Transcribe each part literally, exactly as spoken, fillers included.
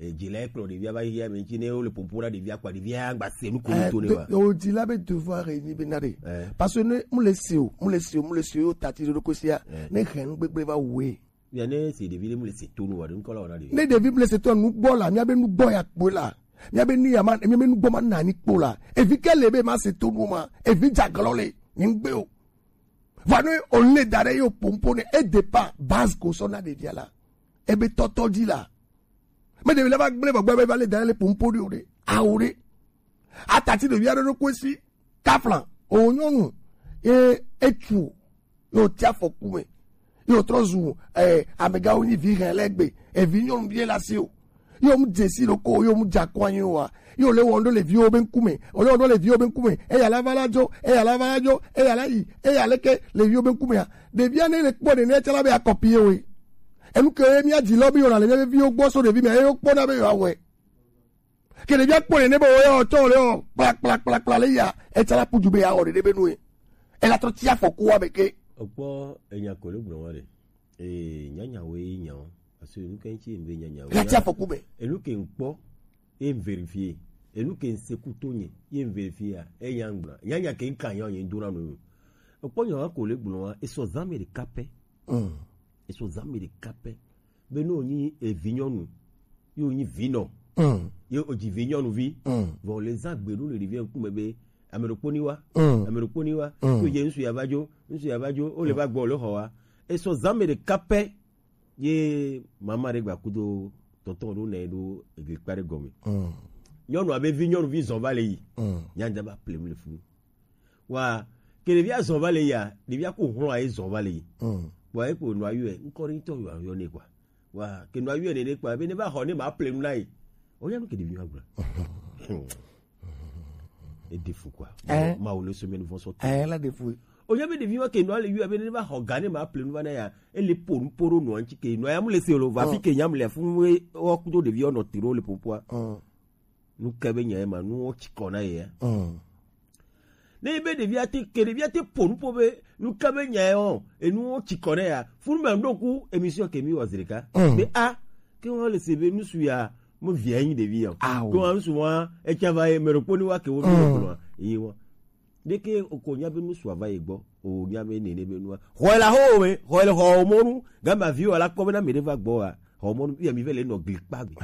Ejila ekplɔ ɖevia va yi ya me ŋuti ne wole popo na ɖevia kpa ɖevia gba se nu ko eh, to ne wa. O jila be devoir enyi be na ɖe. Eh. Parce que ne mu le si o, mu le si o, mu le si o yo tati ɖo ɖo kosia. Eh. Ne hɛn nu gbegble va wue. Ya ne si ɖevi ɖe mu le se to nu wa ɖe ŋkɔ la wa na ɖevi. Ne ɖevi mu le se to nu gbɔ la, mia be nu gbɔ ya kpo la. Mia be ni ya ma, mia be nu gbɔ ma na ni kpo la. Evi ke le be ma se to nu ma. Evi jaglɔ le. Ni gbe o. Va ne o le da ɖe yo pompo ne e dépend base ko sɔ na ɖevia la. Ebe tɔtɔ di la. Me ɖevi la va gblẽ vɔ gbɔ be va le da le pompo ɖi o ɖe. Awo ɖe. Atati ɖevi aɖe ɖo koe si. Kafla. O nyɔnu. E etu. Yo tia fɔku me. Yo trɔ zu eh, amegawo nyi vi hɛn lɛ gbe. Evi nyɔnu vie la si o. Yo mu dze si ɖo ko, yo mu dza kɔ anyi wa. Yo le wɔn ɖo le viwo be ŋkume. O le wɔn ɖo le viwo be ŋkume. Eya la va la dzo, eya la va la dzo, eya la yi, eya leke le viwo be ŋkume ya. Ɖevia ne le kpɔ ɖe ne tsala be akɔpi ye we. Enu ke ye mía dzi lɔ bi yɔna le mía be viwo gbɔ so ɖevi mea ye wo kpɔna be yewoa wɔe. Ke ɖevia kpɔ ɖe ne be wo ya ɔtsɔ le ɔ kpla kpla kpla kpla le ya etsala puju be ya wɔ ɖeɖe be nue. Ela trɔ tsi afɔku wa be ke. Ekpɔ enya ko le gblɔ wa ɖe. Ee, nyanyawo ye nya o. Parce que enu ke ŋuti ye ŋve nyanyawo. Ela tsi afɔku be. Enu ke ŋkpɔ ye ŋverifie. Enu ke ŋseku to nye ye ŋverifie ya. Enya ŋgblɔ. Nyanya ke ŋka nya o nye ŋdona no. Ekpɔ nya wa ko le gblɔ wa. Esɔ zã me ɖeka pɛ. Mm. Esɔ zã me ɖeka pɛ. Be ne wònyi evinyɔnu, ye wònyi vinɔ, mm, ye wòdzi vinyɔnuvi, mm, vɔ wòle zã gbe ɖo le ɖevia ŋkume be, ame ɖokpo ni wa, mm, ame ɖokpo ni wa, mm, ko ye ŋsu ya va dzo, ŋsu ya va dzo, wole va gbɔ, wole xɔ wa. Esɔ zã me ɖeka pɛ, ye mama ɖe gba kudo tɔntɔn ɖo nɛ ɖo eglikpa ɖe gɔme. Mm. Nyɔnua be vinyɔnuvi zɔn va le yi, mm, nyanja va ple nu le funu. Wa ke ɖevia zɔn va le yia, ɖevia ko hlɔ̃ aye zɔn va le yi. Mm. Wa eko nɔ ayɔe, ŋkɔ ɖe ŋutɔ yɔ ayɔ ne kwa. Wa ke nɔ ayɔe ne ne kwa, be ne va xɔ ne ma ple nu na ye. O ya nu ke ɖevi ma gblɔ. E de fu kwa. Eh. Ma wo le semaine vɔn sɔ. Eh, la de fu. O ya be ɖevi ma ke nɔ ale yɔ be ne va xɔ ga ne ma ple nu va na ya. E le po nu po ɖo nɔ ŋuti ke nɔ ya mu le se lo va fi ke nyam le fu we wo kudo ɖevi nɔ tiro le popoa. Mm. Nu ke be nya ye ma, nuwo tsi kɔ na ye ya. Mm. Ne be ɖevia te, ke ɖevia te po nu po be, nu ke be nya ye o, enuwo tsi kɔ na ya. Funu me ɖo ku émission ke mi wɔ zi ɖeka. Mm. Be a, ke wo le se be nusu ya, mo via nyi ɖevi ya. Awo. Ke wo nusu wa, e tsa va ye, me ɖokpo ni wa ke wo mi, mm, ko no, yi wa. Ɖeke o ko nya be nusu va ye gbɔ, o nya be nene be nua. Xɔe la xɔ me, xɔe le xɔ o mɔnu, gama vi wa la kpɔ be na me ɖe va gbɔ wa. Xɔ mɔnu, ya mi ve le nɔ gli kpa gbe.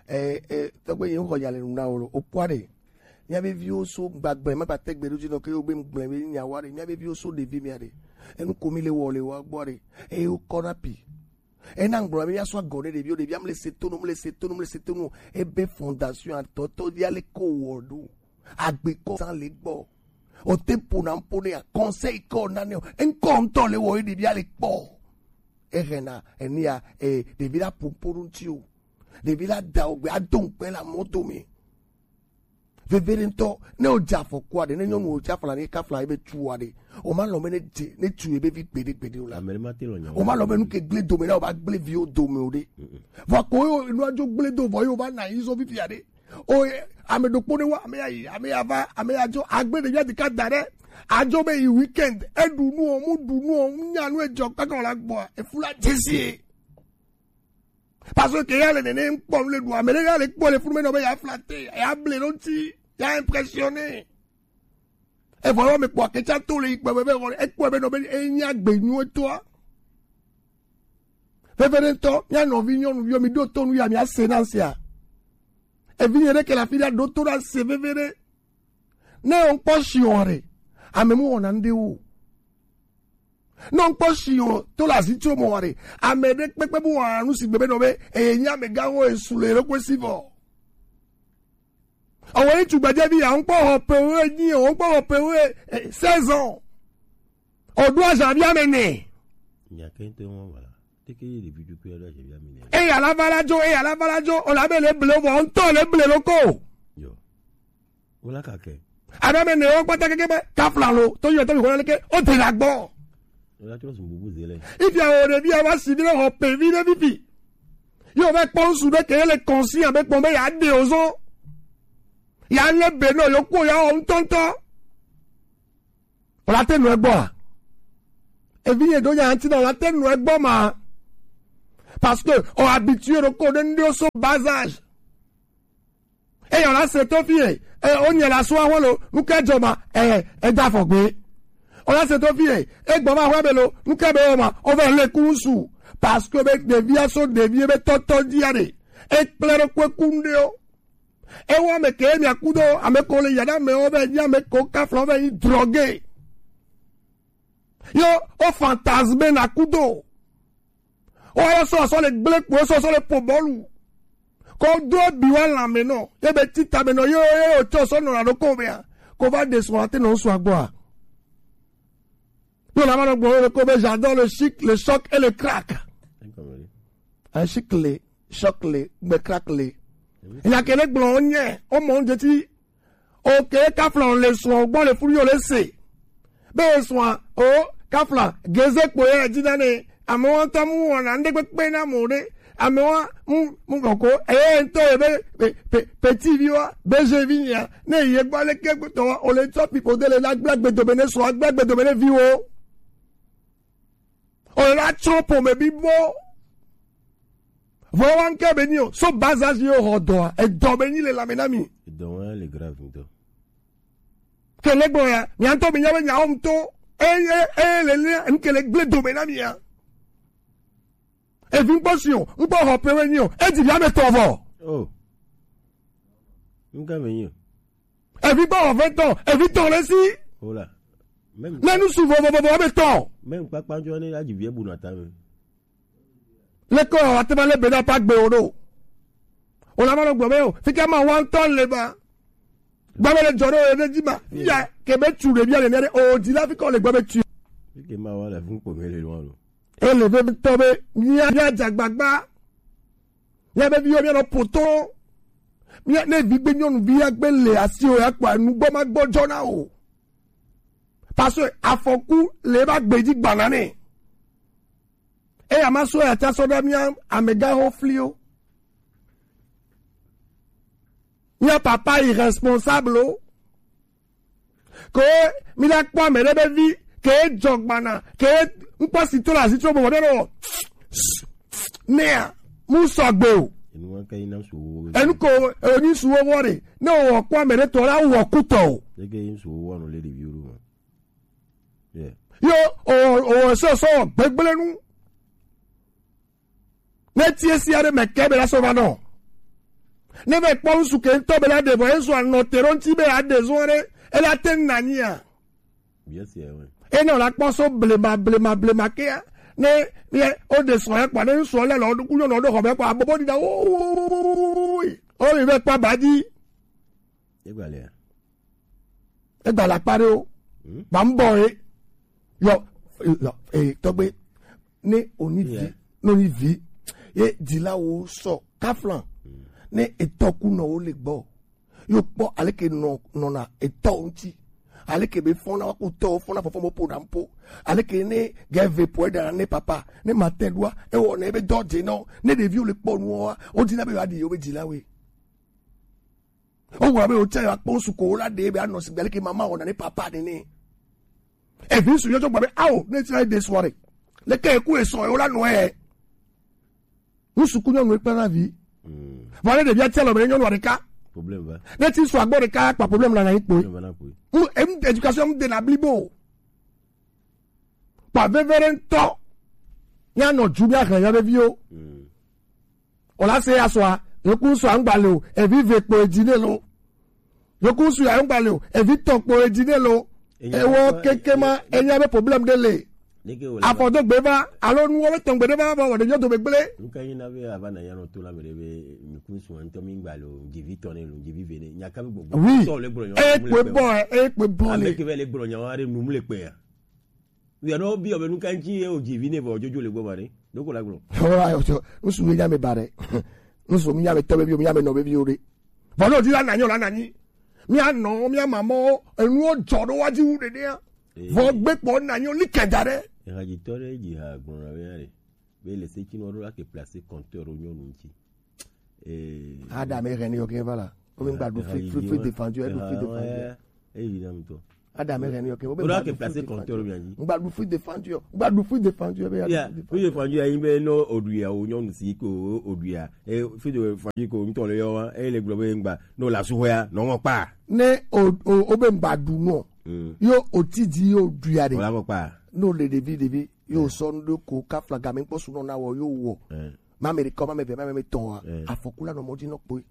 Eh, eh, tɔgbe ye xɔ ya le nu na wo lo, o kpɔ ɖe. Mía be viwo so gbagbe, ma gba te gbe ɖo dzi nɔ ke yo be ŋgble be nya wa ɖe. Mía be viwo so ɖevi mía ɖe. Enu ko mi le wɔ le wa gbɔ ɖe. Eye wo kɔ na pi. Ena ŋgblɔ be mía sɔ agɔ ɖe ɖeviwo, ɖevi am le se tonu, le se tonu, le se tonu. Ebe fondation atɔtɔ via le ko wɔ ɖo. Agbe kɔ san le gbɔ. O te po na po ne ya conseil kɔ na ne o. Enkɔ ŋutɔ le wɔ ye ɖevi ale kpɔ. Ehena enia e ɖevi la popo ɖo ŋuti o. Ɖevi la da o gbe ado ŋkpe la mɔ dome. Veveɖetɔ, ne o dze afɔkua ɖe, ne nyɔnu o dze afla ne kafla ebe tu wa ɖe, o ma lɔ me ne dze, ne tu ebe vi gbeɖe gbeɖe o la. Ame ɖe ma te lɔ nya o ma lɔ me nu ke gble dome na o ba gble viwo dome o ɖe. Mm-mm. Vɔ ko yo nua dzo gble do vɔ yo va na yi zɔ fifia ɖe. O ye, ame ɖokpo ne wa, ame ya yi, ame ya va, ame ya dzo, agble ɖevia ɖeka da ɖe. Adzo be yi weekend, e ɖu nu o, mu ɖu nu o, mu nya nu e dzɔ kaka o la gbɔa, efu la dzesi ye. Parce que ya le nene ŋkpɔ nu le ɖu, ame ɖe ya le kpɔ le funu me nɔ be ya flatter, ya ble ɖo ŋuti, ya impressionner. Evɔ yɔ me kpɔ aketsa to le yi kpɛ be be xɔ, ekpɔe be nɔ be enya gbe nyuie toa. Veveɖetɔ, mía nɔvi nyɔnuviwo, mi ɖo to nu ya, mia se na sia. Evi nye ɖe ke le afi ɖe, ɖo to ɖa se veveɖe. Ne o ŋkpɔ shiɔ ɖe, ame mu wɔna ŋɖe wo. Ne o ŋkpɔ shiɔ to le azi tso mɔ ɖe, ame ɖe kpekpe mu wɔna nu si gbe be nɔ be, eye nye ame gã wo esu le ɖokwe si vɔ. Ɔwɔ yi tugbedzevi ya, ŋkpɔ xɔ pe wo enyi o, ŋkpɔ xɔ pe wo, eh, seize ans. O ɖo azan vi ame nɛ. Nya ke ŋutɔ wɔn wala. Teke ye ɖevi tukui aɖo azan vi ame nɛ. Eya la va la dzo, eya la va la dzo, o la be le ble vɔ, ŋutɔ le ble lo ko. Yo. Wo la ka ke. Aɖo ame nɛ wo kpata keke be, kafla lo, to yɔ to mi ko la ke, o te la gbɔ. Ela trɔ zun bubu ze lɛ. Ifia o ɖevi ya va si vi ɖe xɔ pe vi ɖe fifi. Yo va kpɔ ŋsu ɖe ke le kɔnsi abe kpɔn be ya ɖe o zɔn. Ya le be nɔ yo kpɔ ya wɔ ŋutɔŋutɔ. O la te nɔ egbɔ a? Evi ye ɖo nya ŋuti na o la te nɔ egbɔ ma? Parce que o habitué ɖo ko ɖe ŋɖewo so bas âge. Eye o la se to fie, e, o nye la so ahwe lo, nu ke dzɔ ma, e, e da fɔ gbe. O la se to fie, e gbɔ ma hwe be lo, nu ke be o ma, o ve le ku su. Parce que be ɖevia so ɖevi be tɔtɔ dia ɖe. E kple ɖo kue ku ŋɖewo. E wa me ke mi akudo, ame ko le yada me o ve nyi ame ko kafla o ve nyi drogue. Yo, o fantasme na kudo. O ya so so le gble kpo so so le po bɔlu. Ko do bi wa la me no. Ye be tita me no yo ye o cho so no na do ko be a. Ko va de so ate no so agbo a. Yo la ma no gbo ko be j'adore le chic, le choc et le crack. Un chic le, choc le, be crack le. Il y a que les blonds, o mon de ti. Ok, kafla le soin gbɔ le fulu yo le se. Be soin o kafla geze kpo ye dzi na ne. Amewo ŋutɔ mu wɔna ŋɖe kpekpe na mo ɖe. Amewo mu mu kɔkɔ eye ŋutɔ ye be pe pe petit vi wa be je vi nya ne ye gbɔ le ke gbetɔ wa o le tsɔ pipo de le la gblẽ gbedome ne sɔ gblẽ gbedome ne viwo. O le la tsrɔ̃ ƒomevi bɔ. Vɔ wa ŋke be nyi o so bas âge ye o xɔ dɔa edɔ be nyi le lame na mi. Edɔ wa le grave ŋutɔ. Ke le gbɔ ya mia ŋutɔ mi nya be nyawo ŋutɔ eye eye le le ŋke le gblẽ dome na mi ya. Evi ŋkpɔ si o ŋkpɔ xɔ pe we nyi o edzi via me tɔ vɔ. Oh. Ŋka me nyi o. Evi gbɔ wɔ fɛ tɔ evi tɔ le si. Ola. Même ne nu su vovovo be tɔ. Même kpakpa jɔ ne adzi vie bu na ta me. Le kɔ wa te ma le be na pa gbe o do. O la ma lo gbe o fika ma wa ŋutɔ le ba. Gba me le jɔ do o ne dzi ma ya ke be tu le bia le ne o di la fika o le gba be tu. Fike ma wa le fun kpo me le lo lo. Ele be tɔ be mia mia dzagbagba. Mia be viwo mia nɔ poto. Mia ne vi gbe nyɔnu vi ya gbe le asi o ya kpɔ enu gbɔ ma gbɔ jɔ na o. Parce que afɔku le ba gbeji gbana ne. Eya ma so ya ta so da mia amega ho flio. Mia papa irresponsable o. Ke mi la kpɔ ame ɖe be vi ke dzɔ gbana ke ŋkpɔ si to le azi tso bɔbɔ ɖe wɔ nea mu sɔgbe o. Enu wa ke yi na su wo. Enu ko enu su wo wɔ ɖe ne wɔ kpɔ ame ɖe tɔ la wɔ kutɔ o. Ege yi su wo wɔ no le ɖevi wo ma. Yeah. Yo o o sɔ sɔ gbegblẽ nu. Ne tie si aɖe me ke be la sɔ va nɔ. Ne va kpɔ ŋsu ke ŋutɔ be la ɖe vɔ ezu anɔ te ɖo ŋuti be aɖe zɔ ɖe ela te na nyia. Bien sûr, oui. Ena la kpɔ so blema blema blema kea ne ye o de sɔ ya kpa ne ŋsu le lɔ ɖo kunyo lɔ ɖo xɔ be kpa abobo di da o o yi ve kpa ba di. Egba le. Egba la kpa ɖe o. Hmm? Ba mbɔ ye. Yɔ yɔ e tɔgbe ne oni vi. Yeah. Ne oni vi ye dzilawo sɔ kaflan. Hmm. Ne etɔkunɔwo le gbɔ yo kpɔ aleke nɔ nɔna etɔ ŋuti aleke be fɔna wa kutɔ fɔna fɔfɔ mo po na po aleke ne gɛve po eda ne papa ne ma te ɖua ewɔ ne ebe dɔ dze nɔ ne ɖeviwo le kpɔ nuwo wa wodina be yewoaɖi yewo be dzilawoe. Wowɔna be wotsia yewoakpɔ ŋsu ko wola ɖe be anɔ sigbe leke mama wɔna ne papa nene. Evi ŋsu yɔ tsɔ gba be ao ne tsia ɖe sɔ ɖe leke eku esɔ yewo la nɔɛ. Ŋsu ku nyɔnu ekpla na vi. Vɔ ne ɖevia tsia lɔ be ne nyɔnua ɖeka. Problem va. Ne ti sɔ agbɔ ɖeka kpa problem na na yi kpoe. Problem va na kpoe. Mu em éducation mu de na blibo. Kpa veve ɖe ŋutɔ. Míanɔ dzu míahlẽ mía ƒe viwo. Mm. O la se ya sɔa, yoku sɔa ŋgba le o, evi ve kpo edzi ne lo. Yoku su ya ŋgba le o, evi tɔ kpo edzi ne lo. Ewɔ keke ma enya be problème ɖe le. Afɔ do gbe va alo nuwo be tɔgbe ɖe va va wɔ ɖe nyɔ do be gble. Nuka yi na be ava na ya nɔ to la me ɖe be nuku su ŋutɔ mi ŋgba le o, dzivi tɔ ne lo, dzivi ve ne. Nyaka be gbɔgbɔ. Oui. Tɔ le gblɔ nya. Eye kpe bɔ, eye kpe bɔ le. Ame ke be le gblɔ nya wa ɖe nu mu le kpe ya. Via ɖewo biɔ be nu ka ŋuti ye wòdzi vi nɛ vɔ dzodzo le gbɔ ma ɖe? Ɖeko la gblɔ. Ɔ, ayɔ, tsɔ, ŋsu ye nya me ba ɖe. Ŋsu mi nya me tɔ be viwo, mi nya me nɔ be viwo ɖe. Vɔ ne wòdi la nanyi o, la nanyi. Mía nɔ, mía mamɔwo, enuwo dzɔ ɖo wa dzi wu ɖeɖea. Ee. Vɔ gbe kpɔ nanyi o, li kɛda ɖe. Ehadzitɔ ɖe dzi ha gblɔ na be ya ɖe. Be le se tsi nɔ ɖo la ke placer compteur ɖo nyɔnu ŋuti. Ee. Adam e hɛn yo ke va la. Wo mi gba ɖu free, free, free défendu, e ɖu free défendu. Eyi na ŋutɔ. Ada me reni, ok. O ɖo ke placer compteur ɖo mia dzi. Ŋgba ɖu fruit défendu o. Ŋgba ɖu fruit défendu o be ya. Ya, fruit défendu ya yin be no oɖuia o nyɔnu si ko oɖuia. E fruit défendu ko ŋutɔ le yɔ wa, e le gblɔ be ŋgba no la su hɔya no ŋɔ kpa. Ne o o o be ŋgba ɖu no. Mm. Yo o ti di yo ɖuia de. Wala ŋɔ kpa. No le ɖevi ɖevi yo sɔ nu ɖo ko ka flaga mi kpɔ su nɔ na wɔ yo wɔ. Eh. Ma me ɖe kɔ, ma me ve, ma me tɔn wa. Eh. Afɔku la nɔ mɔ dzi nɔ kpoe.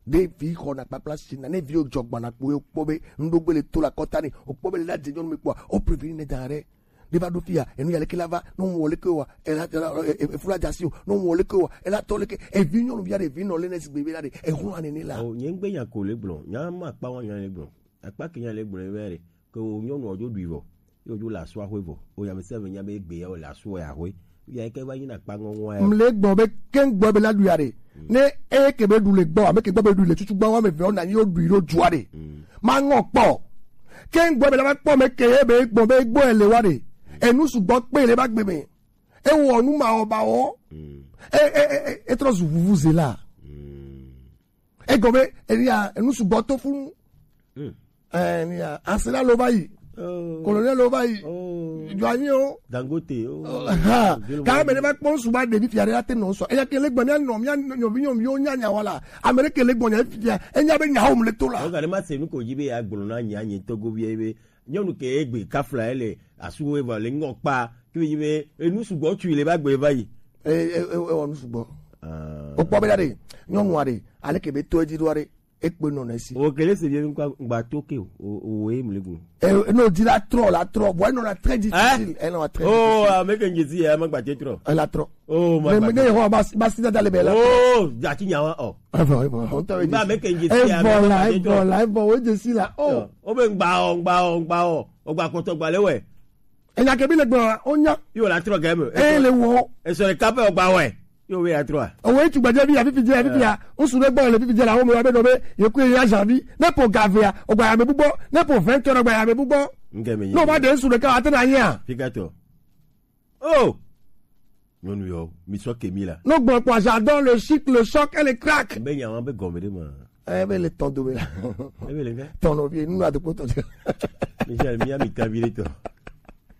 Ɖe vi xɔna kpakpla si na ne vi jɔ gbana kpo ye kpɔ be ŋɖogbe le to la kɔta ne o kpɔ be le la dze nyɔnu mi kpɔa o prevenir ne da ɖe. Ne va ɖo fia enu ya leke la va ne wɔn wɔ leke wa ela ela e- e- efula dza si o ne wɔn wɔ leke wa ela tɔ leke evi nyɔnu via ɖe evi nɔ le ne sigbe be la ɖe ehu ane ne la. O nye ŋgbe nya ko le gblɔ, nya ma kpa wa nya le gblɔ. Akpa ke nya le gblɔ be ɖe ke o nyɔnu o dzo ɖui vɔ. Yo dzo le asua hoe vɔ. O ya me se me nya be egbe ya o le asua ya hoe. Ya ke va yi na kpa ŋɔŋɔ ya. Mle gbɔ be ke gbɔ be la du ya de. Ne e ke be du le gbɔ, ame ke gbɔ be du le tutu gbɔ wa me ve o na nyi o du ro jua de. Ma ŋɔ kpɔ. Ke gbɔ be la va kpɔ me ke e be gbɔ be gbɔ e le wa de. Enu sugbɔ kpe le ba gbe me. E wɔ nu ma o ba wɔ. E e e e trɔ zu vuvu ze la. Egɔme enia enu sugbɔ to funu. Enia asena lo va yi. Colonel lo va yi. Jɔ anyi o. Dangote o. Ha. Ka me ne va kpɔ ŋsu ba ɖevi fia ɖe la te nɔ sɔ eya ke le gbɔ mia nɔ mia nyɔvi nyɔviwo nya nya wala ame ɖe ke le gbɔ nya fia enya be nya wo mu le to la. Ɔga ɖe ma se nu ko dzi be ya gblɔ na nya nye togo bia be nyɔnu ke egbe kafla ele asu wo eva le ŋɔ kpa ke yi be enu sugbɔ tu le ba gbe va yi. E e e wɔ nu sugbɔ. O kpɔ be da de nyɔnu aɖe ale ke be to edzi ɖo aɖe. Ekpe nɔ na esi. O kele se bien kwa ngba toke o o e mle gun. E no di la trop la trop bon non la très difficile. Elle non très. Oh, ame ke ngezi ya ma gba te trop. Elle a trop. Oh, ma. Mais mais ho ba ba si da le bela. Oh, ja ti nyawa o. Avant avant on t'avait dit. Ba me ke ngezi ya. Voilà, voilà, bon, oui, je suis là. Oh. O be ngba o ngba o ngba o. O gba koto gba le we. Enya ke bi le gbɔ o nya. Yo la trop game. E le wo. E so le kape o gba we. Yo we atrɔ a. Owo etu gbadze bi afifi dze afifi ya. Ŋsu ɖe gbɔ le fifi dze la wo me wa be ɖo be yeku ye ya janvi. Ne po gavea, o gba ya me bubɔ. Ne po vingt heures o gba ya me bubɔ. Ŋke me yi. No ba de ŋsu ɖeka ate na yia. Figatɔ. Oh. Nyɔnu yɔ, mi sɔ ke mi la. No gbɔ kpɔ j'adore le chic, le choc et le crack. Be nya wa be gɔme ɖe ma. Ebe le tɔn dome la. Ebe le ŋke. Tɔn no vie nu adu kpoto. Michel, mi ami tabi le tɔ.